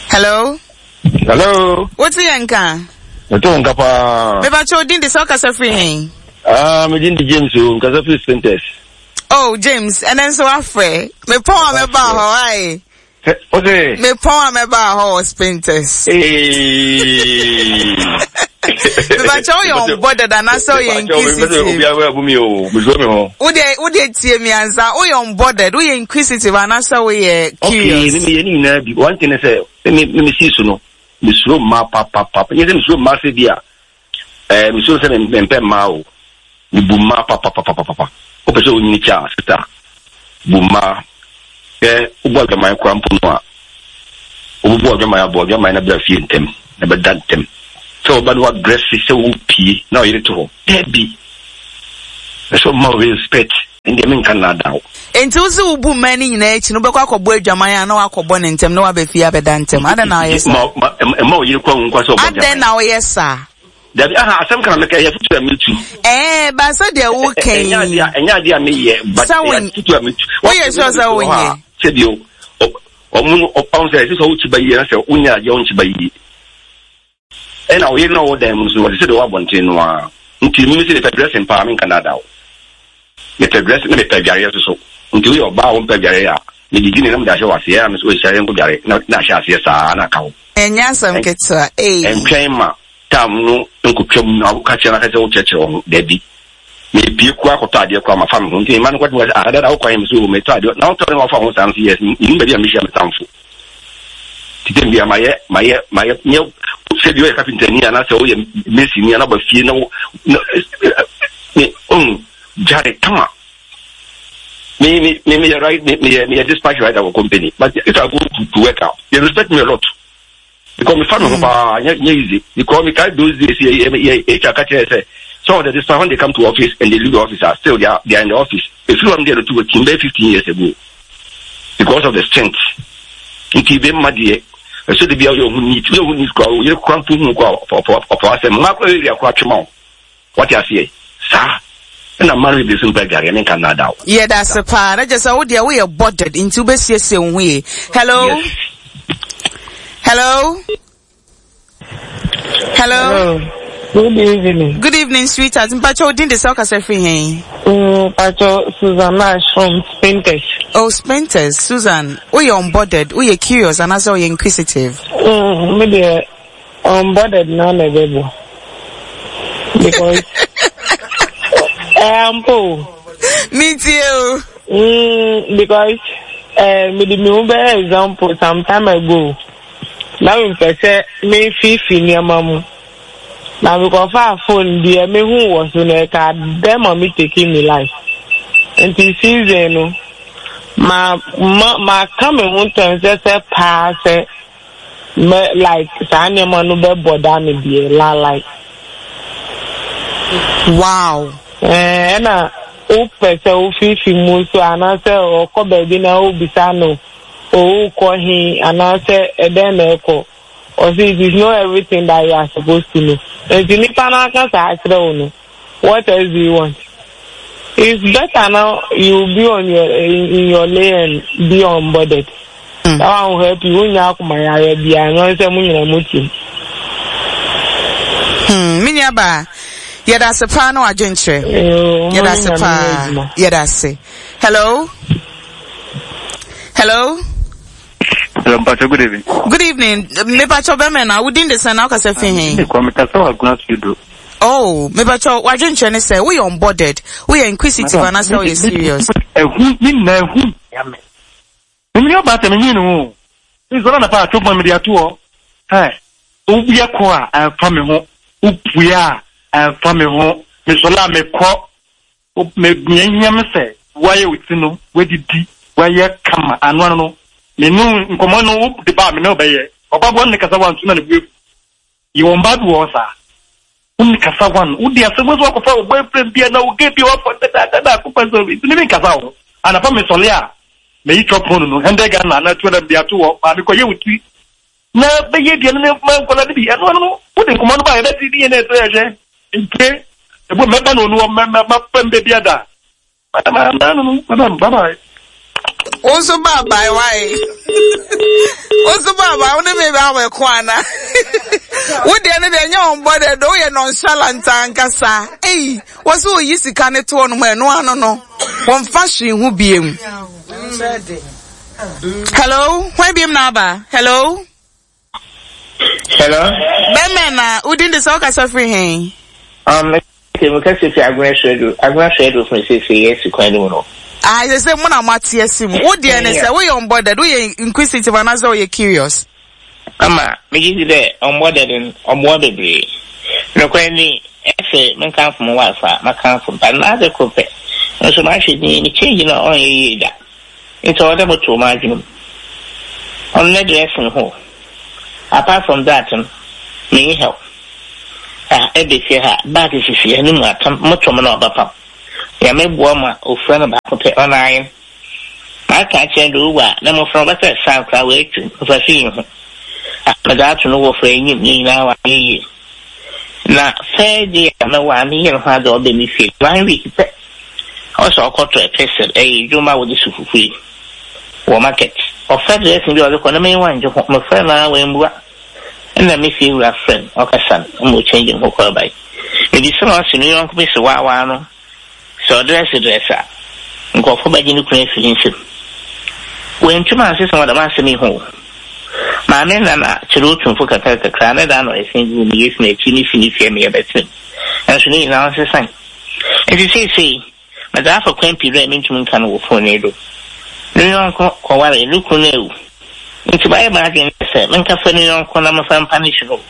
Hello? Hello? What's the yanka? Meto nka pa. Me ba cho din de so kasa free hen. Ah, me din de James o, kasa free Spintex. Oh, James, and then so afre. Me pon me ba ho ai. Okay. Me pon me ba ho Spintex. Eh. Me ba cho you unbothered and so you inquisitive. Obi awa bu mi o, me so me ho. Wo de wo de tie mi ansa, wo you unbothered, wo you inquisitive and so wo you curious. Okay, me me ni na bi. One thing say, me me see so no. Me suro ma pa pa pa. Nye se me suro ma se bia. Eh, me suro se me mpe ma o. Mebu mmaa papapapapapa. Wopɛ sɛ wonyini kyɛ a, sister, bu mmaa. Hwɛ, wobɔ adwaman koraa mpo no a, wobɛbɔ adwaman abɔ adwaman na bra fie ntɛm, na bɛda ntɛm. Sɛ woba na woadrɛse sɛ wopie na ɔyere te hɔ. Daabi. Ɛsɛ ɔma wo respect. Ɛndeɛ menka nnaadaa wo. Enti wo se wobu mmaa no nyinaa akyi no, wobɛkɔ akɔbɔ adwaman a na woakɔbɔ no ntɛm na woaba fie abɛda ntɛm. Adɛn na woyɛ saa? Ma, ma, mma wo yere kɔ anwu nkwa sɛ ɔbɔ adwaman. Adɛn na woyɛ saa? Dabi, aha, asɛm ka na meka, ɛyɛ afotu a metu. Ɛɛ, ba sɛ deɛ woka yi. Ɛnyɛ adeɛ ɛnyɛ adeɛ a meyɛ, but ɛyɛ afotu a metu. Woyɛ sure sɛ wonyɛ? Sɛdeɛ ɔmo no, ɔmo sɛ ɛsɛ sɛ wokyi ba yie na sɛ wonya adeɛ wonkyi ba yie. Ɛna ɔyere no a ɔwɔ dan mu no so, ɔte sɛ deɛ ɔwɔ abɔnten no ara. Nti mimi sɛ mepɛ dressing paa, menka naadaa wo. Mepɛ dressing na mepɛ adwareɛ nso so. Nti woyɛ ɔbaa a wompɛ adwareɛ a, medidi ne na mede ahyɛ wo aseɛ, ɛna me sɛ ɔhyia yɛnkɔ dware na na ahyɛ aseɛ saa na aka hɔ. Ɛnyɛ asɛm ketewa, ei. Ɛntwɛn ma tam no nkotwam na woka kyerɛ no aka sɛ wokyerɛkyerɛ wo ho. Dabi. Mepie koraa kɔtɔ adeɛ koraa mafa me ho. Nti mma no kɔtumi ka sɛ, ah, dada wokɔ he? Me sɛ, oh, metɔ adeɛ. Na wotɔ ne wafa ho saa? Me sɛ, yes, menim baabi a mehyia me tamfo. Nti tɛm bia mayɛ, mayɛ, mayɛ, nyɛ sɛ bi woyɛ kapentani anaasɛ woyɛ masonni anaa woba fie na wo, na, me, oh, gyare kama. Me, me, me, meyɛ right, me, meyɛ, meyɛ dispatch rider wɔ company. But if I go to, to work out, they respect me a lot. Because me fa me ho hmm. paa, nyɛ nyɛ easy. Because me carry those days, yɛ yɛ yɛ H R ka kyerɛ sɛ, some of the dispatch when they come to office and they leave the office, ah, still they are they are in the office. Efiri wɔn deɛ no to wɔ team bɛyɛ fifteen years ago. Because of the strength. Nti bɛ mma deɛ, ɛsɛ de bi a ɔyɛ ɔho neat, ɔyɛ ɔho neat kora, ɔyɛ kora mpo hu kora ɔpɔ ɔpɔ asɛm. Mmaa kora area kora twema o. Wate aseɛ? Saa. Ɛna mmaa no bebree nso mpɛ adwareɛ, menka nnaadaa wo. Yɛdase paa, na kyerɛ sɛ wo deɛ woyɛ bothered nti wobɛsiesie wo ho yie. Hello? Yes. Hello? Hello? Hello. Good evening. Good evening, sweetheart. Mpacho, wo din de sɛ wokasa firi he? Mm, Mpacho, Susan Ash from Spintex. Oh, Spintex. Susan, woyɛ unbothered, woyɛ curious, anaasɛ woyɛ inquisitive? Mm, me deɛ, Unbothered na na ɛbɛbɔ because ɛyɛ ampa o. Metie o. Mm, because eh, mede me ho bɛyɛ example some time ago na mepɛ sɛ mefifi nneɛma mu na mekɔfaa phone deɛ mehu wɔ so no ɛka dɛn ma me taking me life nti season no ma ma maka me ho ntɛm sɛ sɛ paa sɛ Mɛ like saa nneɛma no bɛ bɔ da me deɛ la like. Wow. Ɛɛ ɛna wo pɛ sɛ wo fifi mu nso anaasɛ ɔkɔ baabi na wo bisa no o wo kɔ he anaasɛ ɛdɛn na ɛkɔ ɔse it is not everything that you are supposed to know nti nipa no aka saa akyerɛ wo no what else do you want it's better now you be on your in, in your lane and be unbothered. Mm. That one will help you. Wonya akoma yare bia no sɛ mo nyina mo tim. Hmm, me nua ba. Yɛda ase paa na wadwenkyerɛ. Yɛda ase paa. Yɛda ase. Hello. Hello. Hello, Mpacho, good evening. Good evening. Me pacho bɛmɛ na wodin de sɛn na wokasa fi he? Me kwa mekasa wɔ Agona Studio. Oh, me pacho wadwenkyerɛ ne sɛ woyɛ unbothered, woyɛ inquisitive anaasɛ woyɛ serious. Ɛhu, ne nyinaa ɛhu ya me. Me nua baa sɛ menwene ne ho o. Nsɔre anapa a twopɔn mede ato hɔ. Hɛ, woyɛ kɔ a ɛmfa me ho, wopue a ɛmfa me ho, mesɔre a mekɔ. Me nea ehia me sɛ woayɛ wo ti no, woadidi, woayɛ kama, ano ano no, me ne wo nkɔmmɔ no wode ba a me ne wo bɛyɛ. Ɔba boa ne kasa wanto na ne bo afu. Yɛwɔ mmaa bi wɔ hɔ saa. Wo ne kasa wan, wode asɛm nso akɔfa wo boyfriend bi anaa wo gay bi a wafa dadaada akɔfa sɛ nti ne me nkasa wo ho. Anapa mesɔre a, meyi chop phone no, hundred Ghana anaa two hundred mede ato hɔ, maame kɔyɛ wo ti na bɛyɛ aduane no ma nkwadaa no bi. Ɛno ano no, wode nkɔmmɔ no ba a yɛbɛte ne yɛn na ɛsɛ yɛhwɛ. Mpue, ebu mɛba na onu hɔ mɛ mɛ mapɛ mbɛ bi ada. Madam, no no, madam, bye bye. Wo nso bye bye why? Wo nso bye bye, wo ne me bɛ awɔ ɛko ana? Wo deɛ no deɛ nyɛ wɔn bɔ deɛ do woyɛ nonchalant ankasa. Ei, wɔ so oyi sika ne toɔ no mu ɛno ano no, wɔmfa hwee ho biem. Hello, hwan biem na aba? Hello. Hello. Bɛmɛ na wodin de sɛ wokasa firi he? Um, okay, mekasa fi Agona Swedru. Agona Swedru fún sese yɛ si kwan no mu no. Ah, sɛ sɛ mo na mo ate asi mu. Wo deɛ ne sɛ woyɛ unbothered, woyɛ inquisitive anaasɛ woyɛ curious? Ama, megye di dɛ unbothered no, ɔboa bebree. Nokwar ni, Ɛsɛ menkamfo mo wife a makamfo but n'adze kor pɛ nso mahwɛ din me change no a ɔnyɛ yie da nti ɔwɔ dɛ motow m'adwene mu ɔno ne dressing ho apart from that no menye help ah ɛbɛ fie ha bag sisi ha ne mu atam motɔ mo na ɔbɛpam Nyame boa ma ofura no baako pɛ ɔno ayen maka akyerɛ no dɛ owu a na mmɔfra no wɔbɛsɛ san koraa wɔatwam mfaso yi ho ah medze ato no wɔ fra enyim ne nyinaa wɔayɛ yie na first day a mɛwɔ a meyɛ ne ho adze a ɔbɛ me fie one week pɛ ɔsɛ ɔkɔtɔ ɛpɛsɛl ɛyɛ edwuma a wɔde si fufu yi wɔ market ɔfɛ dressing bi a ɔde kɔ na menyiwa ngye ho mefrɛ no a wɔambua ɛna me fie wura frɛ no ɔkasa no ma ɔkyɛngye ne ho kɔɔ bae mebisa no ɔse ne yɔnko bi se waawaa no sɛ ɔdress dress a nkurɔfoɔ bɛgye ne kunu afiri ne nsam wɔantumi ansesa wɔ dɛm asɛm yi ho maame nana kyerɛ otumfo kakra kakra ne da na ɔyɛ gu me yɛsi n'akyi ne si ne fie meyɛ bɛtena ɛnso ne nyinaa ɔnsesan nti seesei mede afa kwan pii do a mentumi nka no wɔ phone yi do ne yɔnko kɔware ne kunu no awu nti mayɛ m'adwene sɛ menkafa ne yɔnko na mefa mpa ne hye no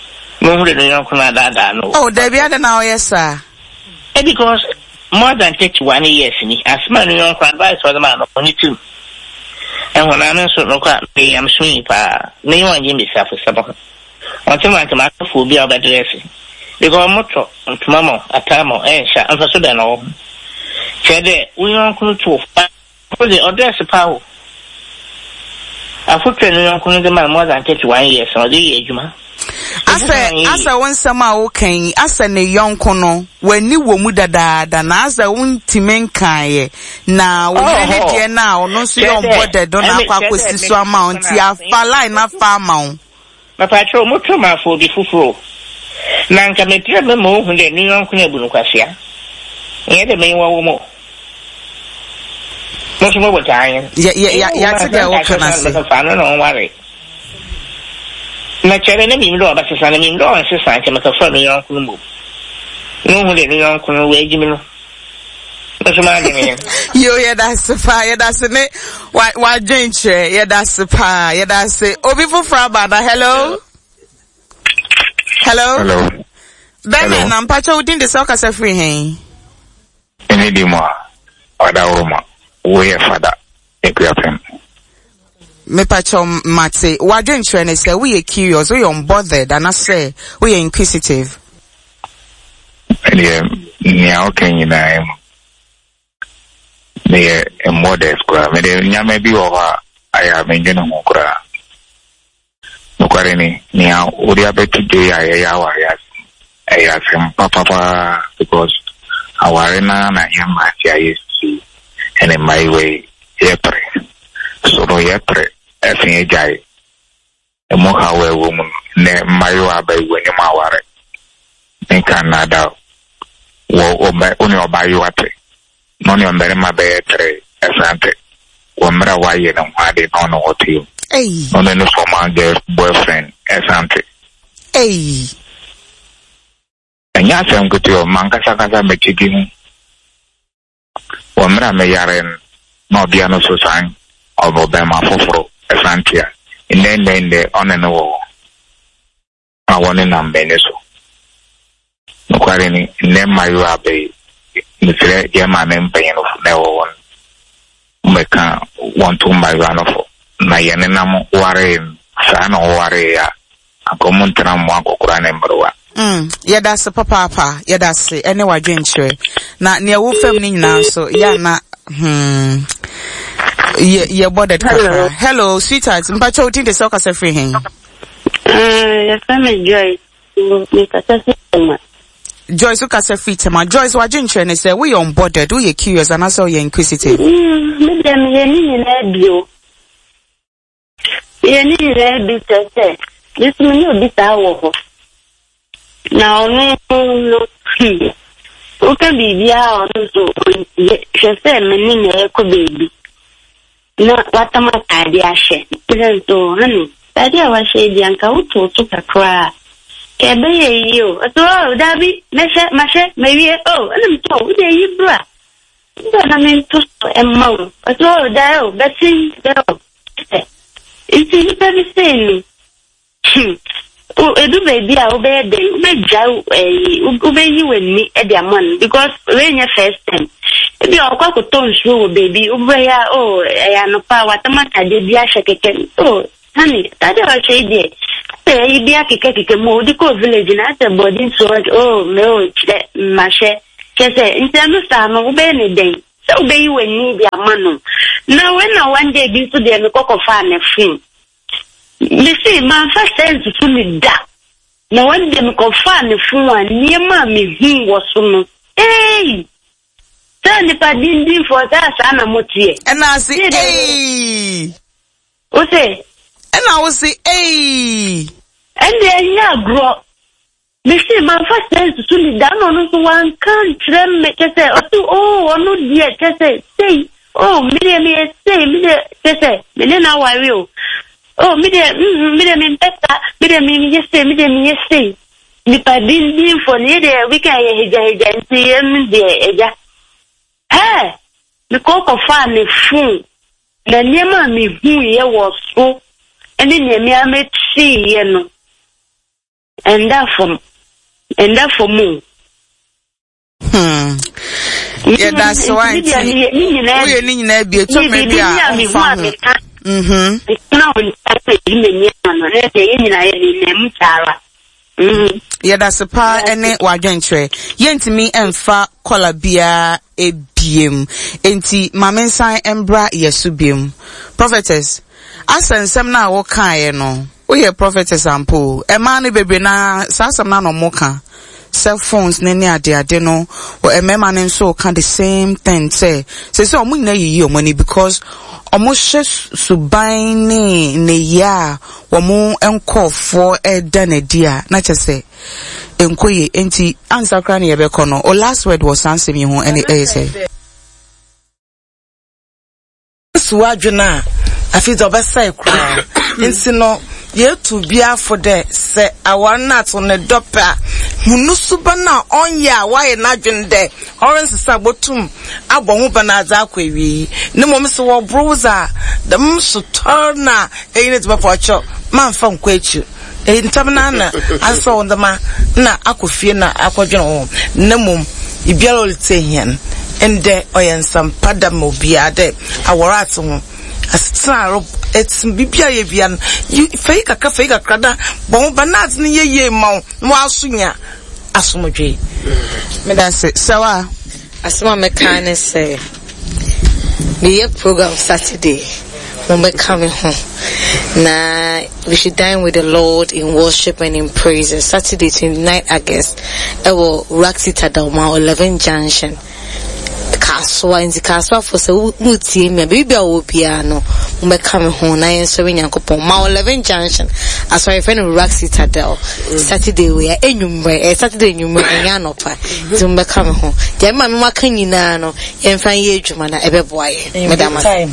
mehu de ne yɔnko no adaadaa no. Oh, dabi ade na ɔyɛ saa. Eh, because more than thirty one years ni asɛm a ne yɔnko advice ɔde maa no ɔne tirim ɛho na me nso nokɔ a meyɛ nyamesomni paa menye wɔn gye mbesiafo ho ɔnte ma ntoma akafo obi a ɔbɛdress because motɔ ntoma ma ataa ma ɛnhyɛ mfa so bɛn na ɔwɔ ho kyerɛ dɛ wo yɔnko no to fa de ɔdress paa o afotu ne yɔnko no de ma no more than thirty one years na ɔde yɛ adwuma. Asɛ asɛ wo nsɛm a woka yi asɛ ne yɔnko no w'ani wɔ mu dadaada na asɛ wontumi nkaeɛ na wo yere ne deɛ no a ɔno nso yɛ ɔmbɔ dɛdo na akɔ akɔsi so ama wo nti afa line afa ama wo. Mapatwerɛ moto maafo obi foforɔ na nka mepɛ me ma ohu dɛ ne yɔnko no abu no kwasea nyɛ dɛ menyi wɔ mu mo nso mobɔ taa yɛn. Yɛ yɛ yɛate deɛ woka no ase. Fa no na ɔnware na kyerɛ na mim dɛ ɔbɛsesa na mim dɛ ɔnsesa nkyɛ mekɛfa ne yɔnko no mmom na ohu dɛ ne yɔnko no wɔagyi me no nso m'adwene yɛn. Yo, yɛda ase paa, yɛda ase ne wadwen kyerɛ, yɛda ase paa, yɛda ase. Obi foforɔ aba na hello. Hello. Hello. Bɛmɛ na mpakyɛ wo din de sɛ ɔkasa firi hɛn? Ɛne di mu a, ɔda woroma, woyɛ fada, ekuapem. Mepakyɛ mate, wadwen kyerɛ ne sɛ woyɛ curious, woyɛ unbothered, anaasɛ woyɛ inquisitive? Ɛdeɛ, nea ɔka nyinaa mu, meyɛ unbothered koraa. Mede nneɛma bi wɔ hɔ a, ayɛ a mendwene ho koraa. Nokware ni, nea wode abɛto dwa yi a yɛyɛ aware ase, ɛyɛ asɛm papapaa because aware na na yɛ mmerante a yɛsisi ɛne mmaayewa yi yɛpere. So no yɛpere ɛfe agyae. Ɛmu haw a ɛwɔ mu no, nnɛ mmaayewa aba yi wɔ anim aware. Menka nnaadaa wɔ ɔba wo ne ɔbaayewa te na ɔne ɔmbarima bɛyɛ tere ɛsan te wɔ mmerɛ a wayɛ ne ho ade na ɔne wɔ te mu. Ei. Na ɔne ne former girl boyfriend ɛsan te. Ei. Ɛnyɛ asɛm ketewa, mankasakasa mɛkyɛ bi ho. Wɔ mmerɛ a meyare no, na ɔbea no so san ɔbɔ bɛrima foforɔ ɛsan te a, nnɛ nnɛ nnɛ ɔne no wɔ hɔ. A wɔne nam m'ani so. Nokware ni, nnɛ mmaayewa aba yi, mesrɛ yɛn maame mpanyinfo na ɛwɔ hɔ no, mmɛka wɔn to mmaayewa no fo. Na yɛne nam waree no, saa na ɔwaree a, anka ɔmo ntena mmoa nkɔkora ne mmerewa. Mm, yɛda ase papaapa, yɛda ase ɛne wadwenkyerɛ. Na nea ɛwɔ fam no nyinaa nso, yɛ ana, hmm, yɛ yɛbɔ dɛ kakra. Hello, sweetheart, mpakyɛ wo din de sɛ ɔkasa firi hen? Yɛfrɛ me Joyce. Mekasa firi Tema. Joyce wokasa firi Tema. Joyce wadwenkyerɛ ne sɛ woyɛ unbothered, woyɛ curious anaasɛ woyɛ inquisitive? Mm, me deɛ meyɛ ne nyinaa bio. Meyɛ ne nyinaa bi kyerɛ sɛ, me nso me ne obi saa wɔ hɔ. Na ɔno no, hmm, woka biribiara a ɔno nso ɔntie. Hwɛ sɛ me ne na ɛrekɔ baabi na watam ataade ahyɛ. Sɛ nso, honey, ataade a wahyɛ yi deɛ anka wotow so kakra a, ka ɛbɛyɛ yie o. Ɔsɛ, oh, daabi, mɛhyɛ, mahyɛ, mawie. Oh, ɛna mesɛ, oh, wode ayi bra. Bra na mento so ɛmma wo. Ɔsɛ, oh, daa o, bɛsen, daa o. Nti nnipa bi sei no, hmm, Edu baabi a wobɛyɛ dɛn, wobɛgya ɛyi, wobɛyi w'ani de ama no because wei nyɛ first time. Ebi a ɔkɔ akɔtɔ nsuo wɔ baabi, wobɛyɛ a oh ɛyɛ anɔpa a watam ataadeɛ bi ahyɛ kɛkɛ, oh honey, ataadeɛ a wahyɛ yi deɛ, asɛ ɛyi bi akekakeka mu, wode kɔɔ village na asɛ bɔde nsuo, oh me oh kyerɛ mahyɛ, kyerɛ sɛ nti ɛno saa no wobɛyɛ ne dɛn? Sɛ wobɛyi w'ani de ama no. Na wei na one day bi nso deɛ mekɔ kɔfaa ne phone. Mese mamfa sɛɛ nsusu no da. Na one day mekɔfaa ne phone a nneɛma a mehuu wɔ so no, eei! Sɛ nnipa dindinfoɔ sɛ saa na moteɛ. Ɛna ase eii. Wo se? Ɛna wo se eii. Ɛnde ɛnyɛ agorɔ. Mese mamfa sɛɛ nsusu no da, ɛna ɔno nso wanka ankyerɛ me, kyɛ sɛ ɔse oo ɔno deɛ kyɛ sɛ sei, oo me deɛ meyɛ sei, me deɛ kyɛ sɛ me ne no aware o, oo me deɛ mm me deɛ mempɛ saa, me deɛ meyɛ sei, me deɛ meyɛ sei. Nipa dindinfoɔ no yɛ deɛ weekend yɛ hagyahagya nti yɛn deɛ agya. Hɛɛ! Mekɔ kɔfaa ne phone na nneɛma a mehuiɛ wɔ so ne nea me ara meteeɛ no, Ɛnda fam. Ɛnda fam o. Hmm. Yɛda so a nti woyɛ ne nyinaa bi ɛtɔ mmerɛ bi a ɔmfa ho. Mhm. Yɛda se paa ɛne w'adwenkyerɛ. Yɛntumi mfa kɔla biara ebiem. Enti ma me nsan mbra yɛ so biem. Prophetess, asɛ nsɛm no a wokaeɛ no, Woyɛ prophetess ampa o. Ɛmaa no bebree na saa asɛm no na ɔmo ka sɛ phones ne ne ade ade no mmarima no nso ka the same thing sɛ sɛ sɛ ɔmo nyinaa yiyi ɔmo ani because ɔmo hyɛ suban ne nneyɛɛ a wɔn nkɔɔfoɔ ɛda n'adi a na kyɛ sɛ nkɔ yie. Nti ansa koraa na yɛbɛkɔ no, o last word wɔ saa nsɛm yi ho ɛne ɛyɛ sɛ? Si w'adwen a, afei dze ɔbɛsɛe koraa. Ntsi no, yetu obiara fo dɛ sɛ awar no ato no dɔ pɛ a, hu no suban a ɔnnyɛ a ɔayɛ n'adwen dɛ ɔrennsesa a botum abɔ ho ban adze akɔ ewiei. Na mbom sɛ wɔbor wo dze a, dɛm sotɔr no a enye no dzi bɛfa ɔkyɛw, mma mmfa nnkɔ ekyir. Ntsɛm no ara na asesa wo ndzɛmba na akɔ fie na akɔdwen woho. Na mbom obiara a oritsie hɛn ndɛ, ɔyɛ nsɛmpa da ma obiara dɛ awar atse ho, asetsena a etse mu, biribiara eyɛ biara no, yi fa yi kakra fa yi kakra na bɔ ho ban na adze no nyɛ yie mma wo na wɔaso nya asomdwee. Meda ase. Sɛwa. Asɛm a mɛka ne sɛ, meyɛ program Saturday, mommɛka me ho na we should dine with the Lord in worship and in praises. Saturday twenty nine August ɛwɔ Raxi Tadawma eleven Junction. Kasoa nti Kasoafo sɛ wotie me a baabi a wɔwɔ biara no mommɛka me ho na yɛnsɔre Nyankopɔn. Ma eleven Junction asɔre fɛ no Raxi Tadel. Saturday wei a enwummerɛ ɛyɛ Saturday enwummerɛ ɛnyɛ anɔpa nti mommɛka me ho. Deɛ mema me maka nyinaa no yɛmfa nyɛ adwuma na ɛbɛboa yɛn. Meda mo ase.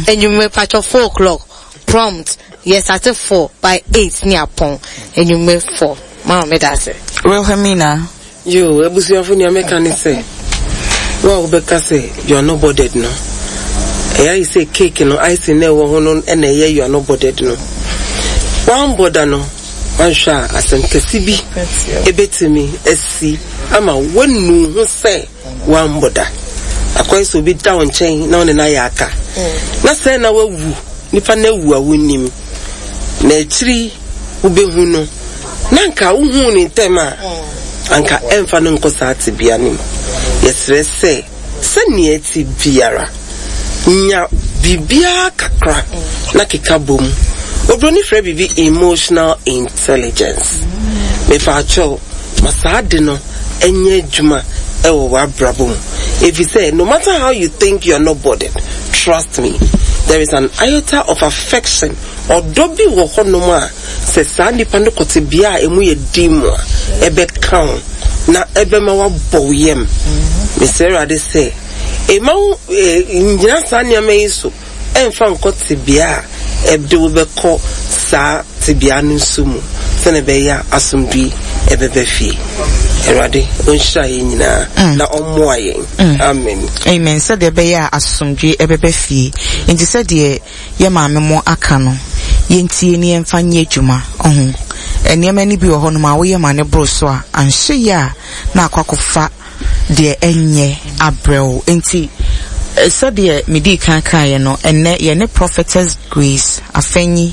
Enwummerɛ patwɔ four o'clock prompt yɛ start four by eight ne apɔn enwummerɛ four. Mama meda ase. Wilhelmina. Yoo, abusuafo nea mɛka ne sɛ, wo a wobɛka sɛ you are not bothered no, ɛyɛ ayɛ sɛ cake no icing na ɛwɔ ho no na ɛyɛ you are not bothered no. Woambɔda no, woanhwɛ a asɛm kɛse bi ebetumi asi ama woanu ho sɛ woammɔ da. Akɔyɛ sɛ obi da wo nkyɛn na wo ne no ayɛ aka, na sɛɛ na wawu, nipa no awu a wonnim, na akyiri yi wobɛhu no, na anka wohuu no ntɛm a, anka ɛmfa no nkɔ saa tebea no mu. Yɛsrɛ sɛ, sɛnea ɛte biara, nya biribiara kakra na keka bom. Oburoni frɛ biribi emotional intelligence. Mepaakyɛw, ma saa ade no nyɛ adwuma wɔ w'abrabɔ mu. Efisɛ no matter how you think you are not bothered, trust me, there is an iota of affection, ɔdɔ bi wɔ hɔnom a sɛ saa nipa no kɔ tebea a emu yɛ den mu a, ɛbɛka wo na ɛbɛma woabɔ wo yam. Mesrɛ Awurade sɛ mma wo nnyina saa nneɛma yi so ɛmfa nkɔ tebea a ɛde wo bɛkɔ saa tebea no nso mu sɛnea ɛbɛyɛ a asomdwoe ɛbɛba fie. Awurade ɔnhyira yɛn nyinaa mm. na ɔmmoa yɛn. Mm. Amen. Amen. Sɛdeɛ ɛbɛyɛ a asomdwoe ɛbɛba fie. Nti sɛdeɛ yɛ maame mo aka no, yɛntie ne yɛmfa nyɛ adwuma. Ɔho. Nneɛma no bi wɔ hɔnom a woyɛ ma ne boro so a, anhwɛ yie a na akɔ akɔfa deɛ ɛnyɛ abrɛ wo. Enti sɛdeɛ medii kan kaeɛ no, ɛnnɛ yɛne Prophetess Grace Afenyi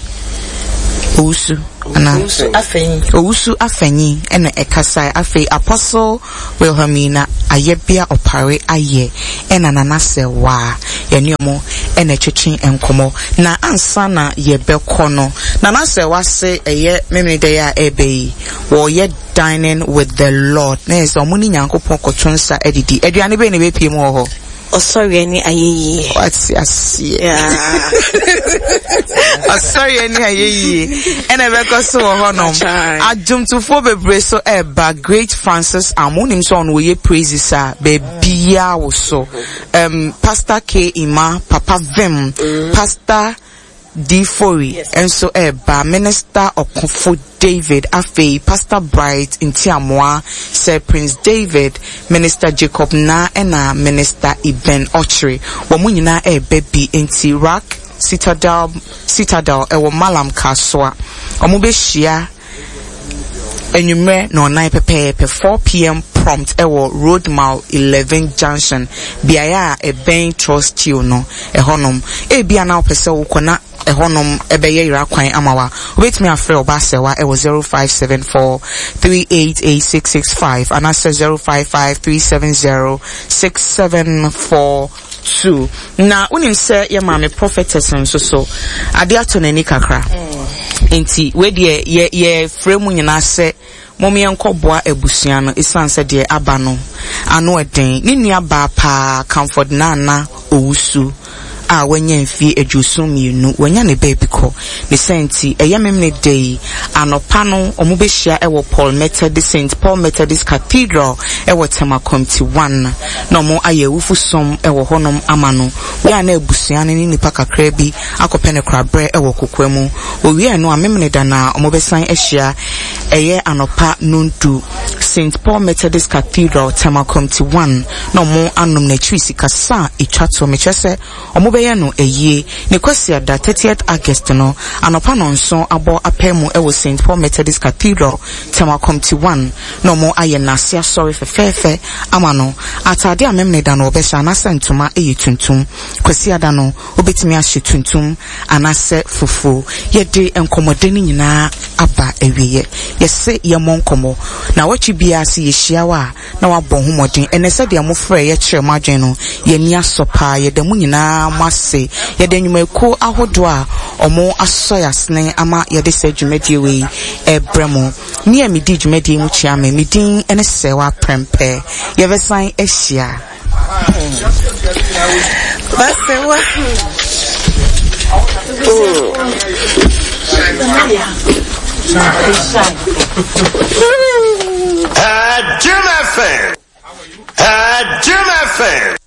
Owusu anaa Owusu Afenyi. Owusu Afenyi ɛna ɛkasae. Afei Apostle Wilhelmina Ayɛbea Ɔpare Ayɛ ɛna Nana Sɛwaa yɛne ɔmo ɛna ɛtwetwe nkɔmmɔ. Na ansa na yɛbɛkɔ no, Nana Sɛwaa se ɛyɛ Memeneda yi a ɛreba yi, wɔreyɛ Dining with the Lord. Na yɛ sɛ ɔmo ne Nyankopɔn kɔto nsa adidi. Aduane bɛn na ɛbɛpie mu wɔ hɔ? Ɔsɔreɛ ne ayɛyie. Wate aseɛ. Ɔsɔreɛ ne ayɛyie ɛna ɛbɛkɔ so wɔ hɔnom. Adwomtofoɔ bebree so ɛreba. Great Francis Amu, wonim sɛ ɔno wɔyɛ praises a baabiaa wo so. Um, Pastor K. Ima, Papa Vim, Pastor D. Fori nso ɛreba. Minister Ɔkofo David, afei Pastor Bright Ntiamoa, Sir Prince David, Minister Jacob Na ɛna Minister Eben Ɔkyere. Wɔn mo nyinaa ɛreba bi. Nti Rock Citadel, Citadel ɛwɔ Malam Kasoa. Wɔn bɛhyia anwummerɛ na ɔnan pɛpɛɛpɛ four p m prompt ɛwɔ Road Mile eleven Junction, beaeɛ a ɛbɛn Trust Steel no ɛhɔnom. Ebia na wopɛ sɛ wokɔ na ɛhɔnom ɛbɛyɛ yera kwan ama wa. Wobɛtumi afrɛ ɔba Asɛwa ɛwɔ zero five seven four three eight eight six six five anaasɛ zero five five three seven zero six seven four two. Na wonim sɛ yɛ maame prophetess nso so ade ato n'ani kakra. Nti wei deɛ yɛ yɛfrɛ mu nyinaa sɛ mom yɛnkɔboa abusua no esiane sɛ deɛ aba no ano ɛden. Ne nua baa paa Comfort Nana Owusu a wanya mfie aduoson mmienu, wanya ne baabi kɔ. Ne sɛ nti ɛyɛ Memene da yi anɔpa no ɔmo bɛhyia ɛwɔ Paul Methodist, Saint Paul Methodist Cathedral ɛwɔ Tema Committee one na ɔmo ayɛ awufo som ɛwɔ hɔnom ama no. Wei a na abusua no ne nipa kakra bi akɔpɛ ne korabrɛ ɛwɔ kokoa mu. Owie no a Memene da na ɔmo bɛsan ahyia ɛyɛ anɔpa nondu Saint Paul Methodist Cathedral Tema Committee one na ɔmo anom n'akyiri sikasa a etwa to. Mekyerɛ sɛ ɔmo bɛyɛ no ayie ne Kwasiada thirtieth August no anɔpa nɔnson abɔ apɛ mu ɛwɔ Saint Paul Methodist Cathedral Tema Committee one na ɔmo ayɛ n'ase asɔre fɛfɛɛfɛ ama no. Ataade a Memene da no ɔbɛhyɛ anaasɛ ntoma ɛyɛ tuntum. Kwasiada no obetumi ahyɛ tuntum anaasɛ fufuo. Yɛde nkɔmmɔde no nyinaa aba awieɛ. Yɛse yɛmmɔ nkɔmmɔ na wɔtwe biara se yɛhyia wo a na wabɔ ho mmɔden. Ɛnɛ sɛdeɛ mofrɛ yɛkyerɛ mo adwene no, yɛni asɔ paa. Yɛda mu nyinaa mo ase. Yɛde nnwumakuo ahodoɔ a ɔmo asɔ yɛ asene ama yɛde sɛ dwumadie wei ɛbrɛ mo. Me a medi dwumadie mu kyia me, me din ne Sɛwa Prɛmpɛ. Yɛbɛsan ahyia. Basewa. Jim F M. Jim F M.